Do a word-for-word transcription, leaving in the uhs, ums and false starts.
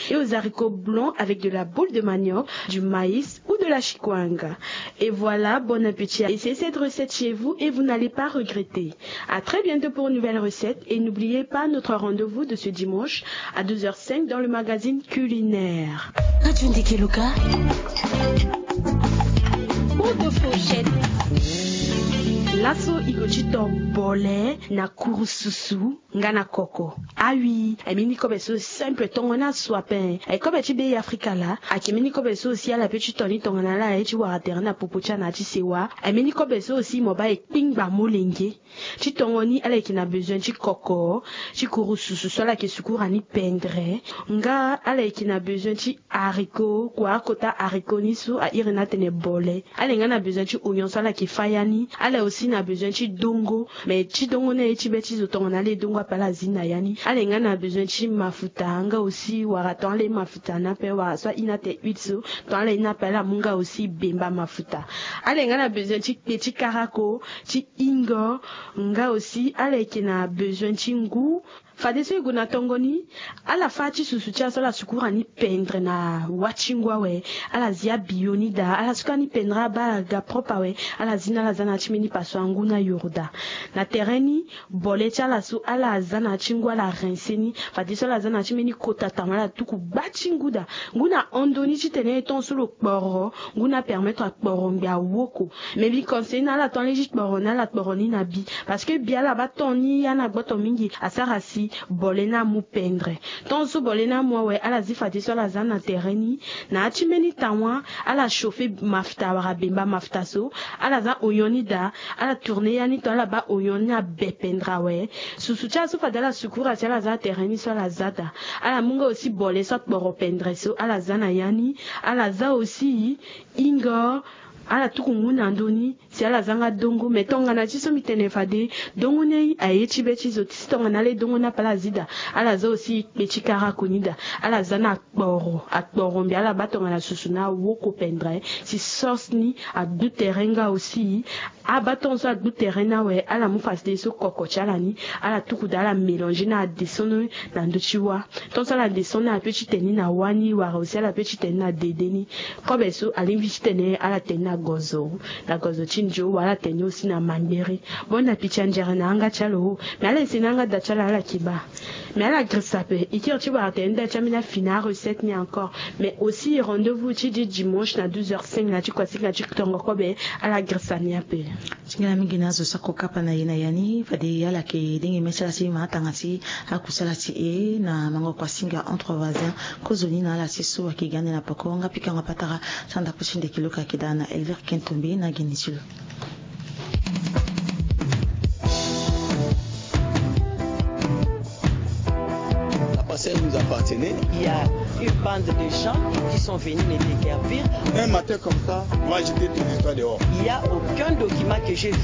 et aux haricots blancs avec de la boule de manioc, du maïs ou de la chikwanga. Et voilà, bon appétit à essayer cette recette chez vous et vous n'allez pas regretter. À très bientôt pour une nouvelle recette et n'oubliez pas notre rendez-vous de ce dimanche à douze heures cinq dans le magazine culinaire. Radio Ndeke Luka. Pour de fourchettes. Laso i go ti to bole na kurususu nga na koko. Awi, e mbeni kobe so simple, tongana so ape. E kobe ti be Afrika laa, ayeke mbeni kobe so si ala pe ti to ni tongana ala ye ti wara tere na popo ti ala na ya ti sewa. E mbeni kobe so si mo baa e kpingba molenge. Ti tongo ni ala yeke na besoin ti koko, ti kurususu so ala yeke sukura ni pendre. Nga ala yeke na besoin ti haricot, kua akota haricot ni so a iri ni atene bole. Ala yeke nga na besoin ti oignon so ala yeke fâ ya ni. Ala aussi na besoin ti dongo. Mais ti dongo ni aye ti be ti zo tongana ala e dongo ape ala zi na ya ni. Ala yeke nga na besoin ti mafuta, nga aussi wara tongana ala e mafuta ni ape, wara so a iri ni atene huile so, tongana ala e ni ape ala mu nga aussi bemba mafuta. Ala yeke nga na besoin ti kpe ti karako, ti hingo, nga aussi ala yeke na besoin ti ngu. Fadeso e gue na tongo ni, ala fâ ti susu ti ala so ala sukura ni pendre na wâ ti ngu awe. Ala zi abiyo ni daa, ala sukura ni pendre, ala baa ala ga propre awe. Ala zi ni ala za na ya ti mbeni pasoir ngu na yoro daa. Na tere ni, bole ti ala so ala za na ya ti ngu ala rincer ni. Fadeso ala za na ya ti mbeni kota tama ala tuku baa ti ngu daa. Ngu na hon ndoni titene tongaso lo kporo, ngu ni apermettre akporo ngbi awoko. Mais mbi conseiller na ala tongana ala ye ti kporo ni, ala kporo ni na bi. Parce que bi ala baa ton ni ya na gboto mingi, asara si bole ni amu pendre. Tongaso bole ni amu awe, ala zi fadeso ala za na tere ni. Na ya ti mbeni tawa, ala chauffer mafuta wala bemba mafuta so. Ala za oignon ni daa, ala tourner ya ni, tongana ala baa oignon ni abe pendre awe. Susu ti ala so fade ala sukura si ala za na tere ni so ala za daa. Ala mu nga aussi bole so akporo pendre so, ala za na ya ni. Ala za aussi hingo, ala tuku ngu na ndoni, si ala za nga dongo. Mais tongana ti so mbi tene fade, dongo ni aye ti be ti zo ti si tongana ala e dongo ni ape ala zi daa. Ala za aussi kpe ti karako ni daa. Ala za na akporo, akporo mbi ala baa tongana susu ni awoko pendre, si sauce ni agbu tere nga aussi. Abaa tongaso agbu tere ni awe, ala mu fadeso koko ti ala ni, ala tuku daa ala mélanger ni ala descendre na ndö ti wâ. Tongaso ala descendre ni, ala pe ti tene ni na wâ ni, wala aussi ala pe ti tene ni na dede ni. Kobe so alingbi titene ala tene ni na gozo, na gozo ti ndio, wala ala tene ni aussi na mangbere. Bon appétit anzere na yanga ti ala o. Mais ala ese ni yanga da ti ala, ala yeke baa. Mais ala girisa ape, e kiri ti wara tene ni da ti ambeni afini arecette ni encore. Mais aussi rendez-vous ti di dimanche na douze heures cinq na ti kuasinga ti tongo kobe, ala girisa ni ape. Ti nga na mingi na azo sako kapa na e na ya ni, fade ala yeke dengi mê ti ala ti ma atanga ti akusala ti e na mango kuasinga entre voisins. Kozoni na ala ti so ayeke ga ande na poko nga pikango patara ti andaku ti Ndeke Luka ayeke daa na Elvire Kentombe na geni ti lo. La parcelle nous appartenait. Il y a une bande de gens qui sont venus me déguerpir. Un matin comme ça, moi j'étais tout le temps dehors. Il y a aucun document que j'ai vu.